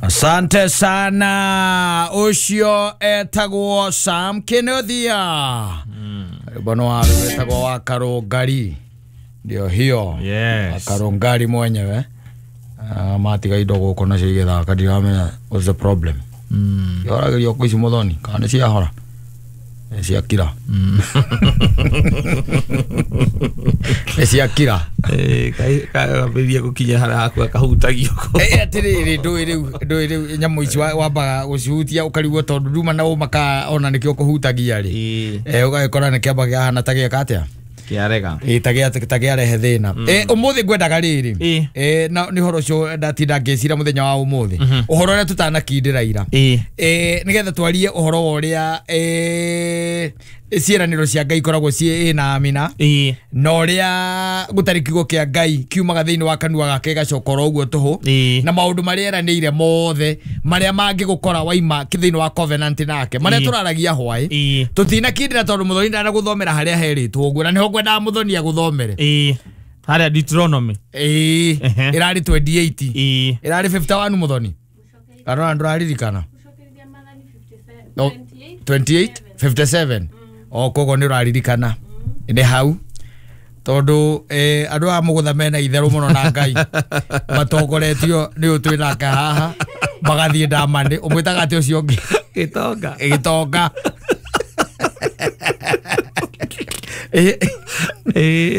Asante sana. Ucio etagwo Sam Kenothia. Rwĩmbo wa etagwo wa Karũngari. Ndio hiyo. Yes. Karũngari mwenyewe. Matiga indo gũkũ nacio igĩthaka ndiramenya what's the problem. Ihoragĩrio kũ ici mũthoni kana nĩ ciahora? Nĩ ciakira. Nĩ ciakira. Kambĩrĩria gũkinya harĩa haku akahutagio. Atĩrĩrĩ ndũĩ rĩu nyamũ ici wambaga gũcihutia ũkarigwo tondũ nduma na ũma ka ona nĩkĩo ũkũhutagia rĩ. Ũgagĩkora nĩ kĩamba kĩahana ta gĩeka atĩa? Kĩarega. Ta kĩarehe thĩna. Ũmũthĩ ngwendaga rĩrĩ. Na nĩ ũhoro ũcio ndatinda ngĩcira mũthenya wa ũmũthĩ. Ũhoro ũrĩa tũtanakindĩra ira. Nĩgetha twarie ũhoro wa ũrĩa ciĩranĩro cia Ngai ikoragwo ciĩ na amina. Na ũrĩa gũtarĩ kiugo kĩa Ngai kiumaga thĩinĩ wa kanua gake gĩgacoka oro ũguo tũhũ. Na maũndũ marĩa eranĩire mothe marĩa mangĩgũkora waima thĩinĩ wa covenant nake marĩa tũraragia hwaĩ. Tũtinakindĩra tondũ mũthoni ndanagũthomera harĩa herĩtwo ũguo na nĩho ngwendaga mũthoni agũthomere. Harĩa Deuteronomy. Ĩrarĩ 28. Ĩrarĩ 51 mũthoni. Kana ndũraririkana? 28 57. O koguo nĩ ũraririkana. Nĩ hau tondũ andũ aya mũgũtha mena itherũ mũno na Ngai matongoretio nĩ ũyũ twĩ nake haha magathiĩ ndamani ũmwĩtaga atĩ ũcio ũngĩ Gĩtonga. Gĩtonga.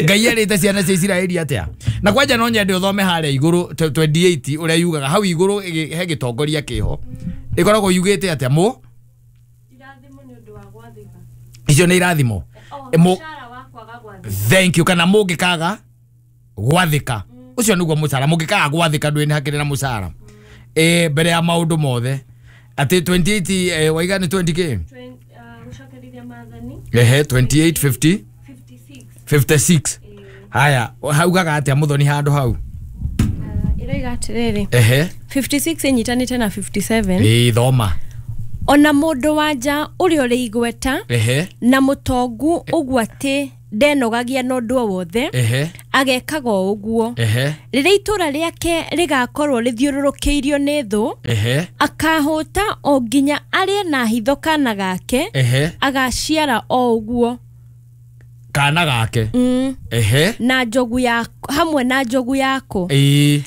Ngai erĩte ciana cia Isiraeli atĩa? Na kwanja no nyende ũthome harĩa igũrũ 28 ũrĩa yugaga hau igũrũ he gĩtongoria kĩho ĩkoragwo yugĩte atĩa mũ icio nĩ irathimo. Thank you. Kana mũngĩkaga gwathĩka ũcio nĩguo mũcara mũngĩkaga gwathĩka ndũĩ nĩ hakĩrĩ na mũcara mbere ya maũndũ mothe atĩ 28 waiga nĩ 20k ehe 28 50 56. Haya haugaga atĩa mũthoni handũ hau? Ĩroiga atĩrĩrĩ. Ehe 56 ĩnyitanĩte na 57. Thoma. Ona mũndũ wa nja ũrĩa ũrĩ igweta na mũtongu ũguo atĩ ndenogagia na ũndũ o wothe agekaga o ũguo. Rĩrĩa itũũra rĩake rĩgakorwo rĩthiũrũrũkĩirio nĩ thũ akahũta o nginya arĩe na hitho kana gake agaciara o ũguo kana gake. Na njogu ya hamwe na njogu yako.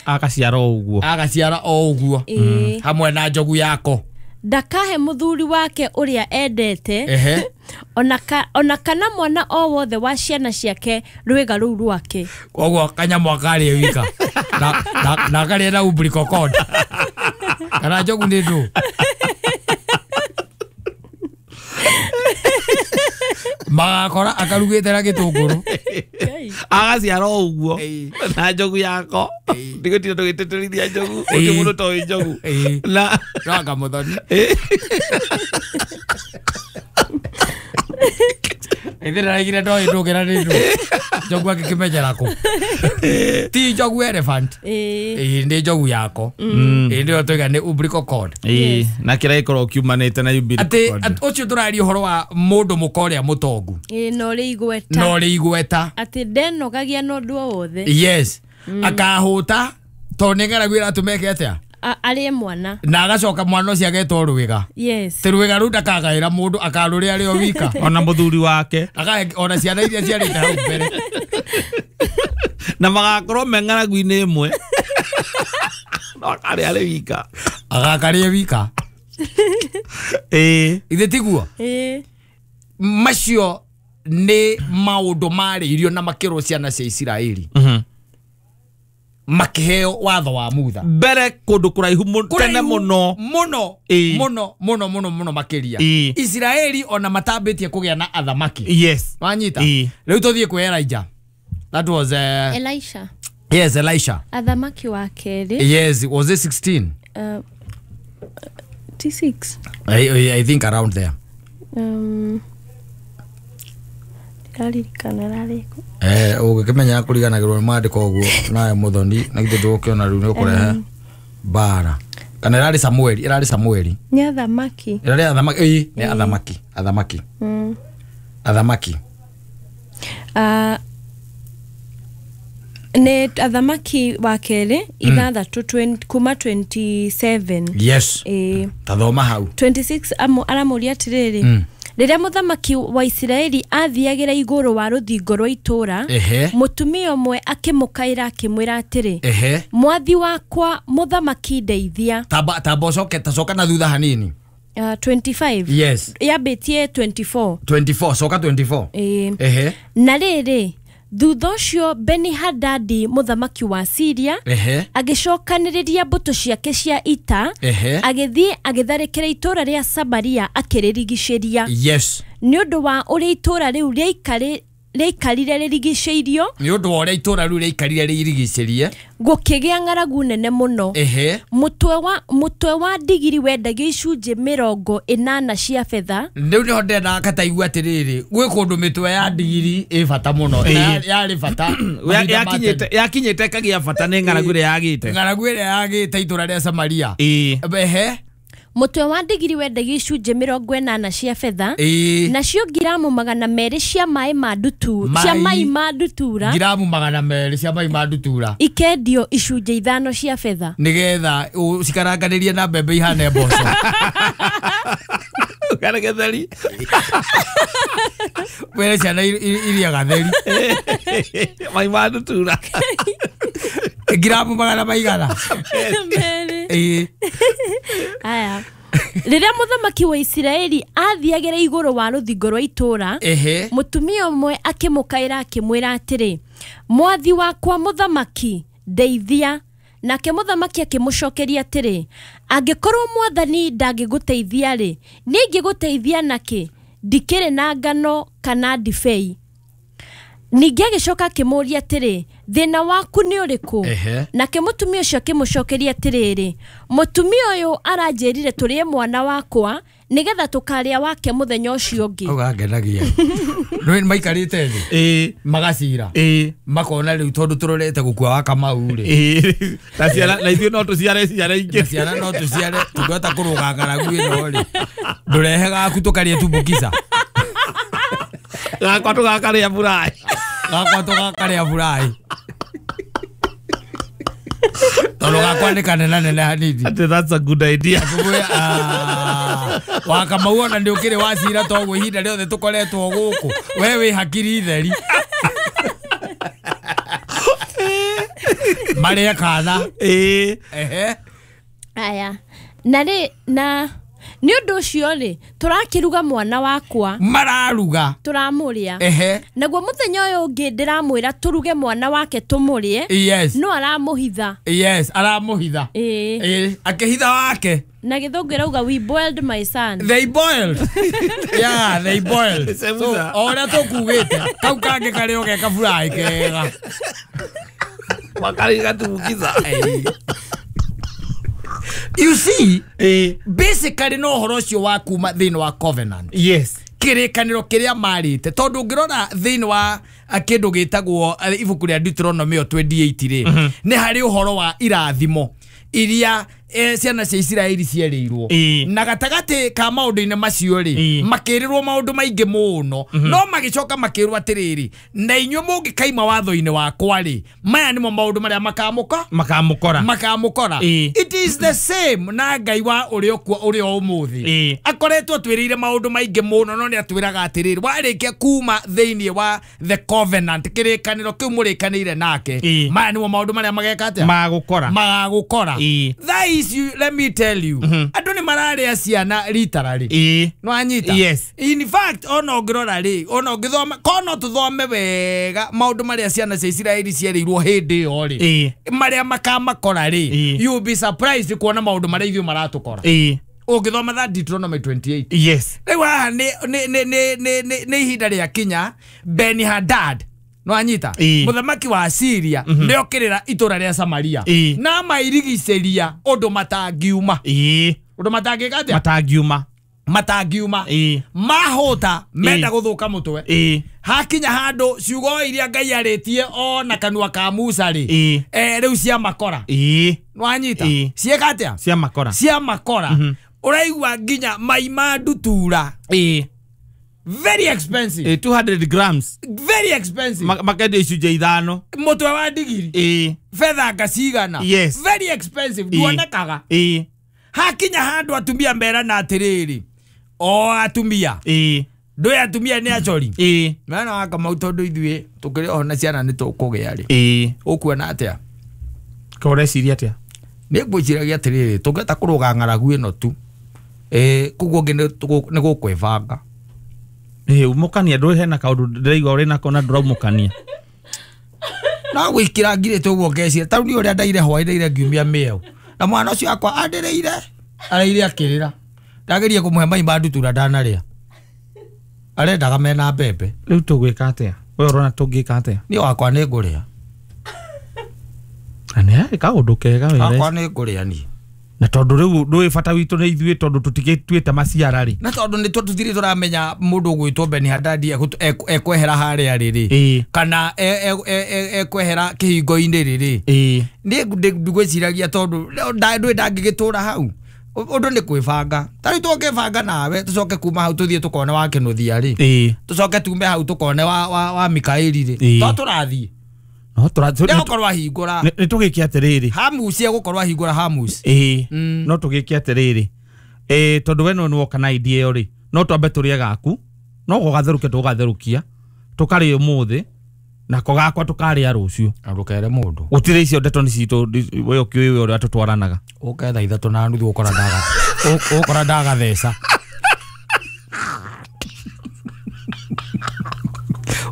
Agaciara o ũguo. Agaciara o ũguo hamwe na njogu yako. Ndakahe mũthuri wake ũrĩa endete ona kana mwana o wothe wa ciana ciake rwĩga rũu rwake. Koguo kanyamũ akarĩe wika na akarĩe na umbilical cord kana njogu nĩ ndũ. Magakora akarugĩte na gĩtũngũrũ agaciara o ũguo na njogu yako ndigũtinda tũgĩtĩtĩrithia njogu ũcio mũndũ toĩ njogu na ranga mũthoni ithe ndaraigire ndoĩ ndũngĩra nĩ ndũ njogu angĩkĩmenyera kũ ti njogu elephant nĩ njogu yako nĩyo tũiga nĩ umbilical cord na kĩrĩa gĩkoragwo kiumanĩte na umbilical cord. Atĩ ũcio tũraria ũhoro wa mũndũ mũka ũrĩa mũtongu na ũrĩ igweta na ũrĩ igweta atĩ ndenogagia na ũndũ o wothe. Yes. Akahũta tondũ nĩ ng'aragu ĩratũmeke atĩa arĩe mwana na agacoka mwana ũcio agetwo rwĩga. Yes. Ti rwĩga rũu ndakagaĩra mũndũ akarũrĩa arĩ o wika ona mũthuri wake ona ciana iria ciarĩte hau mbere na magakorwo me ng'aragu-inĩ ĩmwe no akarĩa arĩ wika agakarĩe wika. Ithe tiguo? Macio nĩ maũndũ marĩirio na makĩrwo ciana cia Isiraeli makĩheo watho wa Mutha mbere kũndũ kũraihu tene mũno mũno mũno mũno mũno mũno makĩria Isiraeli ona matambĩtie kũgĩa na athamaki. Yes. Wanyita rĩu tũthiĩ kwĩ Elijah. That was Elisha. Yes, Elisha. Athamaki wa kerĩ. Yes, was it 16? 6. I think around there. Ndiraririkana rarĩkũ. Ũgĩkĩmenya kũriganagĩrwo nĩ maandĩko ũguo nawe mũthoni na githĩ ndũgũkĩona rĩu nĩ ũkũrehe mbara. Kana ĩrarĩ Samueli, ĩrarĩ Samueli. Nĩ athamaki. Ĩrarĩ athamaki, nĩ athamaki, athamaki. Athamaki. Nĩ athamaki wa kerĩ 6 kuma 27. Yes. Tathoma hau. 26 aramũria atĩrĩrĩ, rĩrĩa mũthamaki wa Isiraeli athiagĩra igũrũ wa rũthingo rwa itũũra, mũtumia ũmwe akĩmũkaĩra akĩmwĩra atĩrĩ, mwathi wakwa mũthamaki ndeithia. Tamba ũcoke tacoka na thutha hanini. 25. Yes. Yambĩtie 24. 24 coka 24. Na rĩrĩ, thutha ũcio Beni-Hadadi mũthamaki wa Syria agĩcokanĩrĩria mbũtũ ciake cia ita, agĩthiĩ agĩtharĩkĩra itũũra rĩa Samaria akĩrĩrigicĩria. Yes. Nĩ ũndũ wa ũrĩa itũũra rĩu rĩaikarire rĩrigicĩirio, nĩ ũndũ wa ũrĩa itũũra rĩu rĩaikarire rĩrigicĩrie, gũkĩgĩa ng'aragu nene mũno. Mũtwe wa ndigiri wendagio icunjĩ 80 cia betha. Rĩu nĩho ndĩrendaga kataigua atĩrĩrĩ, gwĩ kũndũ mĩtwe ya ndigiri ĩ bata mũno. Yarĩ bata. Yakinyĩte ĩkagĩa bata nĩ ng'aragu ĩrĩa yagĩte. Ng'aragu ĩrĩa yagĩte itũũra rĩa Samaria. Mũtwe wa ndigiri wendagio icunjĩ 80 cia betha, nacio ngiramu 200 cia maĩ ma ndutura, cia mai ma ndutura, ngiramu 200 cia mai ma ndutura ikendio icunjĩ 5 cia betha, nigetha cikaranganĩrie na mbembe ihane mboco. Kana getheri were ciana iria gatheri mai ma ndutura ngiramu 200. Aya. Rĩrĩa mũthamaki wa Isiraeli athiagĩra igũrũ wa rũthingo rwa itũũra, mũtumia ũmwe akĩmũkaĩra akĩmwĩra atĩrĩ, mwathi wakwa mũthamaki ndeithia. Nake mũthamaki akĩmũcokeria atĩrĩ, angĩkorwo mwathani ndangĩgũteithia rĩ, niĩ ingĩgũteithia nakĩ? Ndikĩrĩ na ngano kana ndibei. Ningĩ agĩcoka akĩmũũria atĩrĩ, thĩna waku nĩ ũrĩkũ? Nake mũtumia ũcio akĩmũcokeria atĩrĩrĩ, mũtumia ũyũ aranjĩrire tũrĩe mwana wakwa nĩgetha tũkarĩa wake mũthenya ũcio ũngĩ. Hau gangenagia. Nĩ maikarĩte thĩ magacira makona rĩu tondũ tũrorete gũkua wa Kamau rĩ, na ciana na ithuĩ no tũciare ciana ingĩ, na ciana no tũciare, tũngĩhota kũrũga ng'aragu ĩno rĩ, ndũrehe gaku tũkarĩe tumbukica. Gakwa tũgakarĩa buraĩ. Gakwa tũgakarĩa buraĩ. Tondũ gakwa nĩ kanenanene hanini. Atĩ that's a good idea. Wa Kamau ona nĩ ũkĩrĩ wacira toguo ihinda rĩothe tũkoretwo gũkũ, we wĩ hakiri theri. Marĩa kana. Aya. Na rĩ na nĩ ũndũ ũcio rĩ, tũrakĩruga mwana wakwa. Mararuga. Tũramũrĩa. Naguo mũthenya ũyũ ũngĩ ndĩramwĩra tũruge mwana wake tũmũrĩe. Yes. No aramũhitha. Yes, aramũhitha. Akĩhitha wake. Na gĩthũngũ ĩrauga we boiled my son. They boiled. Yeah, they boiled. So, o ũrĩa tũkugĩte, kau kangĩ karĩ o ge kaburai kega. Makarĩ gatumbukiza. You see, basically no ũhoro ũcio wa kuma thĩinĩ wa covenant. Yes. Kĩrĩkanĩro kĩrĩa marĩte, tondũ ũngĩrora thĩinĩ wa kĩndũ gĩtagwo ibuku rĩa Deuteronomy 28 rĩ, nĩ harĩ ũhoro wa irathimo iria ciana cia Isiraeli cierĩirwo. Na gatagatĩ ka maũndũ-inĩ macio rĩ, makĩrĩrwo maũndũ maingĩ mũno, no magĩcoka makĩrwo atĩrĩrĩ, na inyuĩ mũngĩkaima watho-inĩ wakwa rĩ, maya nĩmo maũndũ marĩa makamũkora. Makamũkora. It is the same na Ngai wa ũrĩa ũkuo ũrĩa ũmũthĩ. Akoretwo atwĩrĩire maũndũ maingĩ mũno, no nĩ atwĩraga atĩrĩrĩ, warĩkia kuma thĩinĩ wa the covenant, kĩrĩkanĩro kĩu mũrĩkanĩire nake, maya nĩmo maũndũ marĩa mageka atĩa? Magũkora. Magagũkora. Thaa ici, let me tell you, andũ nĩ mararĩa ciana literally. No anyita. Yes. In fact, ona ũngĩrora rĩ, ona ũngĩthoma, kono tũthome wega maũndũ marĩa ciana cia Isiraeli cierĩirwo hĩndĩ ĩyo rĩ, marĩa makamakora rĩ, you will be surprised kuona maũndũ marĩa ithuĩ maratũkora. Ũngĩthoma that Deuteronomy 28. Yes. Rĩu haha nĩ ihinda rĩa kinya Beni-Hadad, no anyita, mũthamaki wa Syria, nĩokĩrĩra itũra rĩa Samaria na mairigicĩria ũndũ matangiuma. Ũndũ matangĩka atĩa? Matangiuma. Matangiuma. Mahũta menda gũthũka mũtwe. Hakinya handũ ciugo iria Ngai arĩtie ona kanua ka Musa rĩ, rĩu cia makora. No anyita. Cieka atĩa? Cia makora. Cia makora. Ũraigua nginya mai ma ndutura. Very expensive. 200 grams. Very expensive. Makendio icunjĩ ithano. Mũtwe wa ndigiri. Fedha ngacigana. Yes. Very expensive. Nduonekaga. Hakinya handũ atumia merana atĩrĩrĩ. O atumia. Ndũĩ atumia nĩ acori. Mwana wa Kamau tondũ ithuĩ tũkĩrĩ oho na ciana nĩ tũkũgĩa rĩ. Ũkuona atĩa? Ko ũreciria atĩa? Nĩ ngwĩciragia atĩrĩrĩ, tũngĩhota kũrũga ng'aragu ĩno tu. Koguo ũngĩ nĩ gũkwĩbanga. Umũkania ndũĩ hena kaũndũ ndĩraigua ũrĩ nako na ndũraumũkania. No gwĩkĩra ngirĩte ũguo ngeciria ta rĩu niĩ ũrĩa ndaire hwaĩ ndaire ngiumia mĩeo. Na mwana ũcio wakwa andĩrĩire araire akĩrĩra. Ndageria kũmũhe mai ma ndutura ndanarĩa. Arendaga mena mbembe. Rĩu tũgwĩka atĩa? We ũrona tũngĩka atĩa? Niĩ wakwa nĩ ngũrĩa. Na nĩ harĩ kaũndũ kega wee. Wakwa nĩ ngũrĩa niĩ. Na tondũ rĩu ndũĩ bata witũ nĩ ithuĩ tondũ tũtigĩtuĩte maciara rĩ. Na tondũ nĩ tũtirĩ tũramenya mũndũ ũgwĩtwo Ben Hadadi ekwehera harĩa rĩrĩ. Kana ekwehera kĩhingo-inĩ rĩrĩ. Niĩ ndigwĩciragia tondũ ndũĩ ndangĩgĩtũra hau. Ũndũ nĩ kwĩbanga. Ta rĩu tũngĩbanga nawe tũcoke kuma hau tũthiĩ tũkone wa Kĩnũthia rĩ. Tũcoke tume hau tũkone wa Mikaeli rĩ. To tũrathiĩ. No tũrathiĩ. Nĩgũkorwo ahingũra. Nĩ tũgĩke atĩrĩrĩ. Hamusi egũkorwo ahingũra Hamusi. No tũgĩke atĩrĩrĩ. Tondũ we no nĩwoka na idea ĩyo rĩ. No twambe tũrĩe gaku. No gũgatherũkia tũgatherũkia. Tũkarĩa ũmũthĩ. Nako gakwa tũkarĩa rũciũ. Na ndũkere mũndũ. Gũtirĩ icio ndeto nĩ citũ we ũkĩũĩ ũrĩa tũtwaranaga. Ũke thaa 3:30 ũkora ndaga. Ũkora ndagatheca.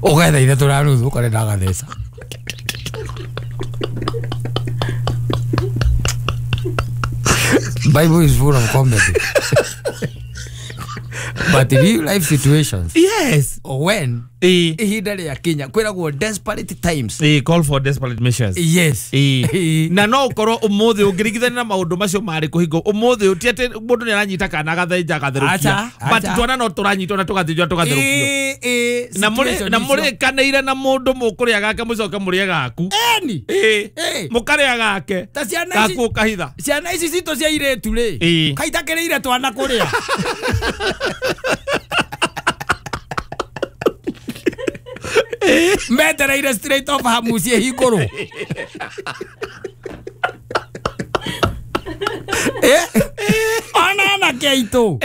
Ũke thaa 3:30 ũkore ndagatheca. Bible is full of comedy. But real life situations. Yes. When ihinda rĩa kinya kwĩragwo desperate times. Call for desperate measures. Yes. Na no ũkorwo ũmũthĩ ũngĩringithania na maũndũ macio marĩ kũhingo ũmũthĩ ti atĩ mũndũ nĩ aranyita kana agathĩnja agatherũkia. But twana no tũranyitwo na tũgathĩnjwo tũgatherũkio. Na mũrĩkanĩire na mũndũ mũkũrĩa gake mũcoke mũrĩe gaku. Eni. Mũkarĩa gake. Ta ciana ici gaku ũkahitha. Ciana ici citũ cia irĩtu rĩ. Kaitakĩrĩire twana kũrĩa. Metereire straight off Hamusi ĩhingũrwo. Ona anake aitũ.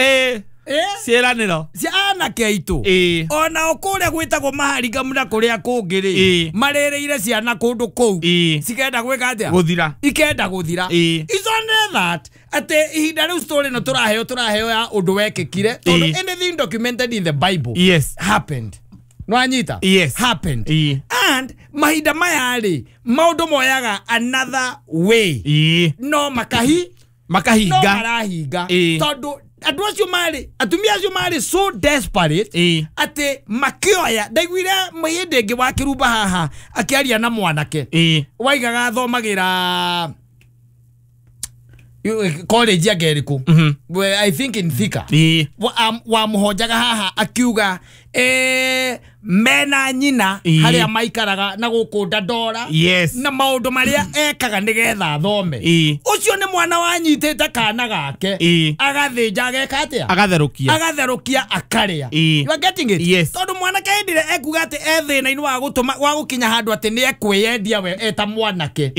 Ciĩranĩro. Cia anake aitũ. Ona o kũrĩa gwĩtagwo maharikamu na kũrĩa kũngĩ rĩ. Marĩrĩire ciana kũndũ kũu. Cikenda gwĩka atĩa? Gũthira. Ikenda gũthira. It's only that atĩ ihinda rĩu story ĩno tũraheo ya ũndũ wekĩkire. Tondũ anything documented in the Bible yes happened. Nwanyita? Yes. Happened. And mahinda maya rĩ maũndũ moyaga another way. No makahinga. No marahinga. Tondũ andũ acio marĩ atumia acio marĩ so desperate atĩ makĩoya ndaiguire hĩndĩ ĩngĩ wa Kĩrumba haha akĩaria na mwanake waigaga athomagĩra college ya Geriku. I think in Thika. Wa muhojaga haha akiuga mena nyina haria maikaraga na gũkũ Dandora. Yes. Na maũndũ marĩa ekaga nĩgetha athome. Ũcio nĩ mwana wanyitĩte kana gake agathĩnja ageka atĩa? Agatherũkia. Agatherũkia akarĩa. You are getting it? Yes. Tondũ mwanake hĩndĩ ĩrĩa ekuga atĩ e thĩna-inĩ wa gũtũma wa gũkinya handũ atĩ nĩ ekkwĩyendia we eta mwanake.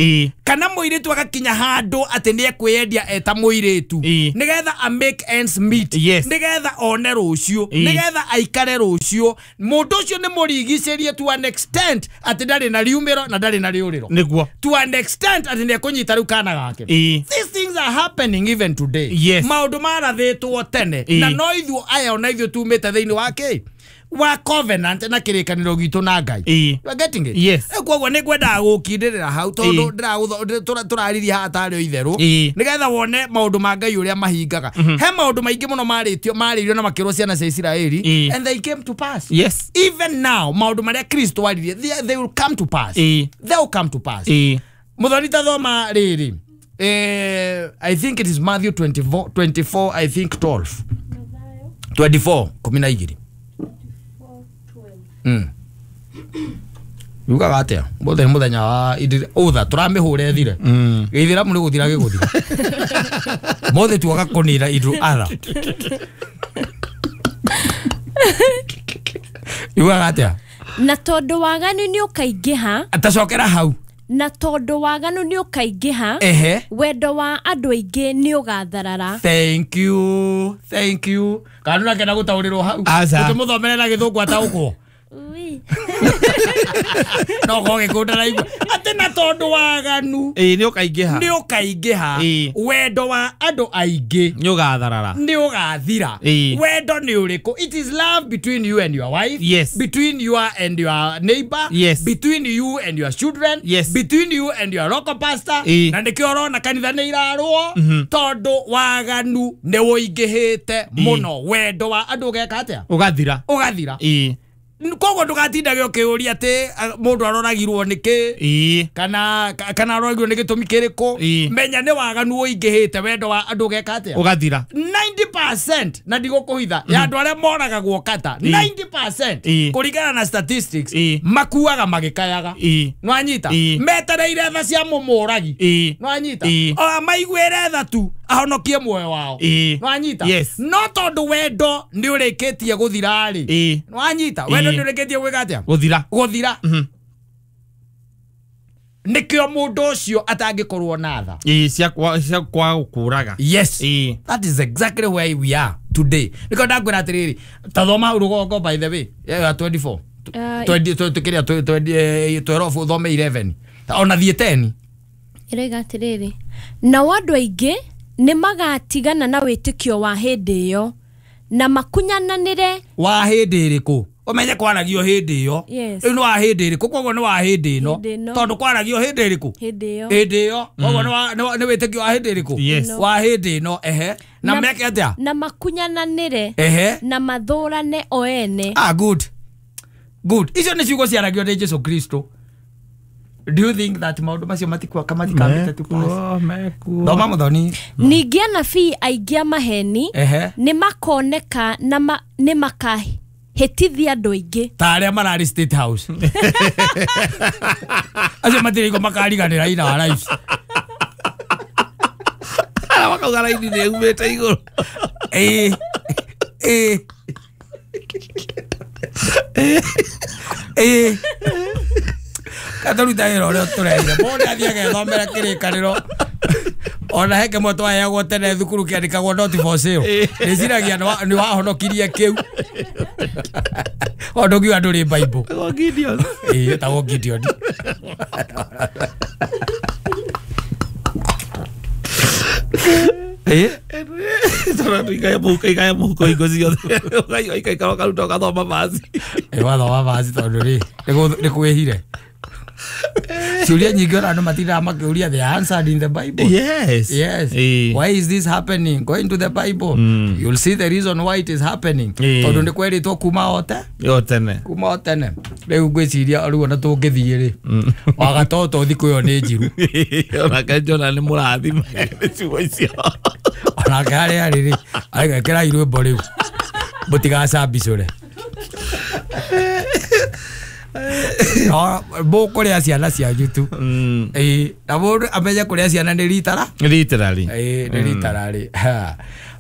Kana mũirĩtu agakinya handũ atĩ nĩ ekkwĩyendia eta mũirĩtu nĩgetha a make ends meet. Yes. Nĩgetha one rũciũ, nĩgetha aikare rũciũ. Mũndũ ũcio nĩ mũrigicĩrie to an extent atĩ ndarĩ na riumĩro na ndarĩ na rĩũrĩro. Nĩguo. To an extent atĩ nĩ ekũnyita rĩu kana gake. These things are happening even today. Yes. Maũndũ marathĩtwo tene na no ithuĩ aya ona ithuĩ tumĩte thĩinĩ wa kĩ? Wa covenant na kĩrĩkanĩro gitũ na Ngai. You are getting it? Yes. Koguo nĩ ngwendaga gũkindĩrĩra hau tondũ tũraririe haha tarĩ o itherũ nĩgetha wone maũndũ ma Ngai ũrĩa mahingaga. He maũndũ maingĩ mũno marĩtio marĩirio na makĩrwo ciana cia Isiraeli and they came to pass. Yes. Even now maũndũ marĩa Kristo aririe they will come to pass. They will come to pass. Mũthoni ta thoma rĩrĩ. I think it is Matthew 24 I think 12. 24 12. Yugaga atia mũthenya mũthenya wa utha tũramĩhũra ĩthire gĩithĩramu nĩ gũthira gĩgũthira mothe tuoka kũnina indo atha. Yugaga atĩa? Na tondũ waganu nĩ ũkaingĩha. Atacokera hau. Na tondũ waganu nĩ ũkaingĩha. Ehe. Wendo wa andũ aingĩ nĩ ũgatharara. Thank you. Thank you. Kana nakenda gũtaũrĩrwo hau. Tũmũthomere na gĩthũngũ ataũkwo. No goge kundaraigua ati na tondu waganu ni ukaingiha ni ukaingiha wendo wa andu aingi ni ugatharara ni ugathira. Wendo ni uriku? It is love between you and your wife. Yes. Between you and your neighbor. Yes. Between you and your children. Yes. Between you and your local pastor. Na nikio urona kanitha ni irarwo tondu waganu ni uingihite muno. Wendo wa andu ugeka atia? Ugathira. Ugathira. Koguo ndũgatindage ũkĩũria atĩ mũndũ aroragirwo nĩkĩ kana aroragirwo nĩ gĩtũmi kĩrĩkũ. Menya nĩ waganu ũingĩhĩte, wendo wa andũ ũgeka atĩa? Ũgathira. 90% na ndigũkũhitha ya andũ arĩa moragagwo kata 90% kũringana na statistics makuaga magĩkayaga. Nĩwanyita? Metereire tha cia mũmũragi. Nĩwanyita? O maiguĩre tha tu ahonokie muoyo wao. Nĩwanyita? No tondũ wendo nĩ ũrĩkĩtie gũthira rĩ. Nĩwanyita? Wendo nĩ ũrĩkĩtie gwĩka atĩa? Gũthira. Gũthira. Nĩkĩo mũndũ ũcio atangĩkorwo na tha. Cia kwa gũkũraga. Yes. That is exactly where we are today. Nĩkĩo ndakwĩra atĩrĩrĩ, ta thoma hau rũgongo by the way, ya 24. 20 kĩrĩa 12 ũthome 11. Ona thiĩ 10. Ĩroiga atĩrĩrĩ, nao andũ aingĩ nĩ magatigana na wĩtĩkio wa hĩndĩ ĩyo na makunyananĩre. Wa hĩndĩ ĩrĩkũ? Umenye kwaragio hĩndĩ ĩyo. Rĩu nĩ wa hĩndĩ ĩrĩkũ? Koguo nĩ wa hĩndĩ ĩno. Tondũ kwaragio hĩndĩ ĩrĩkũ? Hĩndĩ ĩyo. Hĩndĩ ĩyo. Koguo nĩ wĩtĩkio wa hĩndĩ ĩrĩkũ? Wa hĩndĩ ĩno. Ehe. Na meke atĩa? Na makunyananĩre. Ehe. Na mathũrane o ene. Ah, good. Good. Icio nĩ ciugo ciaragio nĩ Jesu Kristo. Do you think that maũndũ macio matikambĩte tu pass? Thoma mũthoni. Ningĩ anabii aingĩ a maheni nĩ makoneka na nĩ makahĩtithia andũ aingĩ. Ta arĩa mararĩ State House. Acio matirĩ makariganĩra in our lives. Ara makauga raini nĩ yumĩte igũrũ. Kataruta wĩra ũrĩa ũtũreire. Mũndũ athiĩ agethomera kĩrĩkanĩro. Ona he kĩmwe twaheagwo tene thukuru kĩandĩkagwo not for sale. Ndĩciragia nĩ wahonokirie kĩu. O ndũngiuga ndũrĩ Bible. Gideon. Ĩtagwo Gideon. Tondũ ikaya mũhuko hingo ciothe. Ũgaikara ũkaruta ũgathoma vaci. Wathoma vaci tondũ rĩ nĩ kwĩhire. Ciũria nyingĩ ona andũ matindaga makĩũria, they are answered in the Bible. Yes. Yes. Why is this happening? Go into the Bible. You'll see the reason why it is happening. Tondũ nĩ kwerĩtwo kuma o tene. Kuma o tene. Rĩu ngwĩciria rĩu ona tũngĩthiĩ rĩ wagatoto thikũ ĩyo nĩ njiru. Onake Jona nĩ mũrathime nĩ ciugo icio. Onake harĩa arĩ rĩ agekĩra rwĩmbo rĩu mũtigacambicũre. No mũkũrĩa ciana cianyu tu. Na mũndũ amenye kũrĩa ciana nĩ ritara. Literally. Nĩ literally.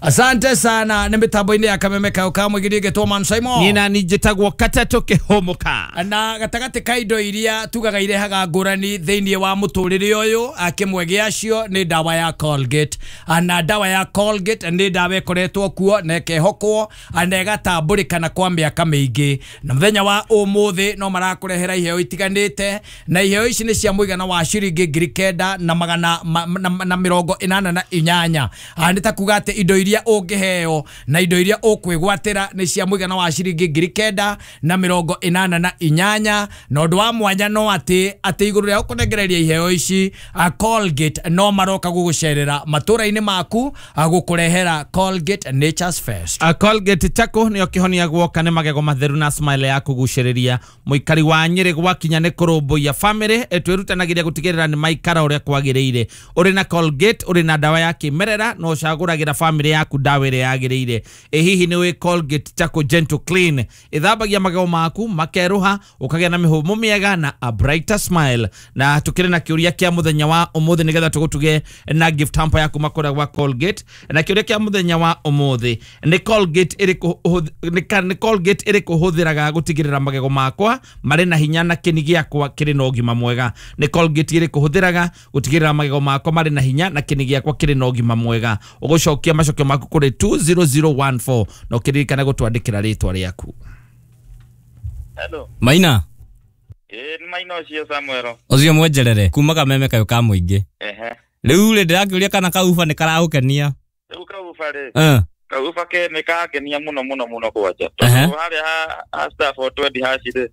Asante sana nĩ mĩtambo-inĩ ya Kameme Kau ka mũigiri gĩtwo Man Simon. Niĩ na niĩ njĩtagwo Katatũ Kĩhũmũka. Na gatagatĩ ka indo iria tugaga irehaga ngũrani thĩinĩ wa mũtũrĩre ũyũ, kĩmwe gĩacio nĩ ndawa ya Colgate. Na ndawa ya Colgate nĩ ndawa ĩkoretwo kuo na ĩkehokwo na ĩgatambũrĩkana kwa mĩaka mĩingĩ. Na mũthenya wa ũmũthĩ no marakũrehera iheo itiganĩte, na iheo ici nĩ cia mũigana wa ciringi 9,000 na magana na 88. Nĩ ta kuga atĩ indo iria ũngĩheo na indo iria ũkwĩgwatĩra nĩ cia mũigana wa ciringi 9,088. Na ũndũ wa mwanya no atĩ igũrũ rĩa gũkũnengereria iheo ici, Colgate no maroka gũgũcerera matũra-inĩ maku gũkũrehera Colgate Nature's Fest. Colgate chako nĩyo kĩhonia guoka nĩ magego matheru na smile ya kũgucĩrĩria. Mũikari wa Nyĩrĩ gwakinya nĩ kũrũmbũiya family, twĩrutanagĩria gũtigĩrĩra nĩ maikara ũrĩa kwagĩrĩire. Ũrĩ na Colgate, ũrĩ na ndawa ya kĩmerera no ũcagũragĩra family. yaku ndawa ĩrĩa yagĩrĩire. Ĩ hihi nĩ wĩ Colgate Charcoal Gentle Clean ĩthambagia magego maku makerũha, ũkagĩa na mĩhũmũ mĩega na a brighter smile. Na tukĩrĩ na kĩũria kĩa mũthenya wa ũmũthĩ nĩgetha tũgũtuge na gift hamper yaku makũrĩa gwa Colgate. Na kĩũria kĩa mũthenya wa ũmũthĩ nĩ Colgate ĩrĩkũ nĩ Colgate ĩrĩkũ hũthĩraga gũtigĩrĩra magego makwa marĩ na hinya na kĩni gĩakwa kĩrĩ na ũgima mwega? Nĩ Colgate ĩrĩkũ hũthĩraga gũtigĩrĩra magego makwa marĩ na hinya na kĩni gĩakwa kĩrĩ na ũgima mwega? Ũgũcokia macokio maku kũrĩ 20014 na ũkĩririkana gũtwandĩkĩra rĩtwa rĩaku. Hello. Maina. Nĩ Maina ũcio Samuel. Ũcio mwenjerere kuma Kameme kayũ ka mũingĩ. Ehe. Rĩu rĩ ndĩrakĩũria kana kauba nĩ karagũkenia? Rĩu kauba rĩ. Kauba ke nĩ kangenia mũno mũno mũno kwanja. Tondũ harĩa ha star 420 hash rĩ.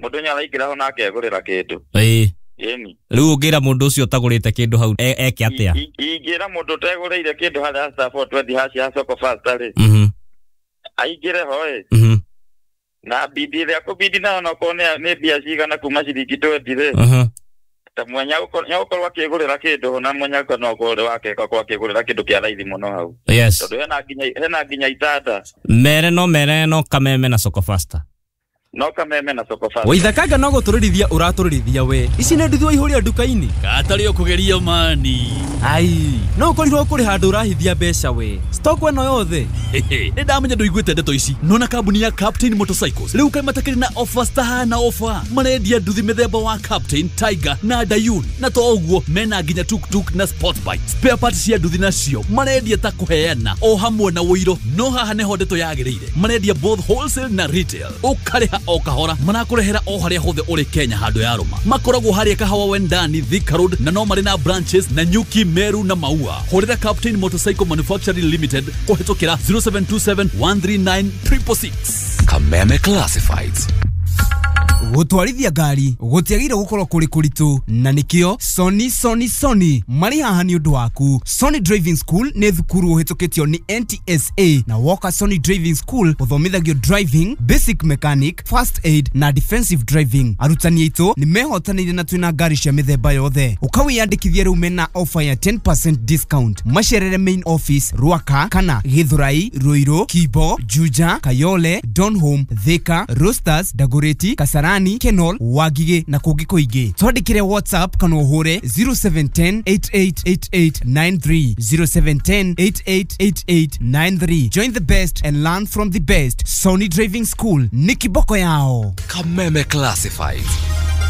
Mũndũ nĩ araingĩra ho na akegũrĩra kĩndũ. Ĩĩ. Ĩni. Rĩu ũngĩra mũndũ ũcio ũtagũrĩte kĩndũ hau eke atĩa? Ingĩra mũndũ ũtegũrĩire kĩndũ harĩa star 420 hash ya Soko Fasta rĩ. Aingĩre ho ĩ. Na bidi ĩrĩa kũbidi nayo no korwo nĩ mbia cigana kuma ciringi 20 rĩ. Ta mwenya gũkorwo akĩgũrĩra kĩndũ na mwenya no korwo wake gakorwo akĩgũrĩra kĩndũ kĩa raithi mũno hau. Yes. Tondũ hena nginya itanda. Mere no Kameme na Soko Fasta. No Kameme na Soko Fasta. Waithakanga no gũtũrĩrithia ũratũrĩrithia we. Ici nĩ nduthi waihũria nduka-inĩ. Katarĩ ũkũgeria mani. Ai, no ũkorirwo kũrĩ handũ ũrahithia mbeca we. Stock ĩno yothe. Nĩ ndamenya ndũiguĩte ndeto ici. Nona kambuni ya Captain Motorcycles rĩu kaĩ matakĩrĩ na offers tahana offer. Marendia nduthi mĩthemba wa Captain, Tiger na Dayun. Na to ũguo mena nginya tuk-tuk na sport bike. Spare parts cia nduthi nacio marendia ta kũheana o hamwe na ũiro. No haha nĩho ndeto yagĩrĩire. Marendia both wholesale na retail. Ũkarĩha o kahora marakũrehera o harĩa hothe ũrĩ Kenya handũ ya rũma. Makoragwo harĩa Kahawa Wendani, Thika Road, na no marĩ na branches na Nyuki, Meru na Maua. Hũrĩra Captain Motorcycle Manufacturing Limited kũhĩtũkĩra 0727 139 666. Kameme Classifieds. Gũtwarithia ngari gũtiagĩrĩire gũkorwo kũrĩ kũritũ, na nĩkĩo Sony Sony Sony marĩ haha nĩ ũndũ waku. Sony Driving School nĩ thukuru ũhĩtũkĩtio nĩ NTSA, na woka Sony Driving School ũthomithagio driving, basic mechanic, first aid na defensive driving. Arutani aitũ nĩ mehotanĩire na twĩna ngari cia mĩthemba yothe. Ũkawĩyandĩkithia rĩu mena offer ya 10% discount. Macerere main office Ruaka kana Githurai, Ruiru, Kibo, Juja, Kayole, Donholm, Thika, Roasters, Dagoretti, Kasarani, Kenol, Wagige na kũngĩ kũingĩ. Twandĩkĩre WhatsApp kana ũhũre 0710 888893, 0710 888893. Join the best and learn from the best. Sony Driving School ni kiboko yao. Kameme Classifieds.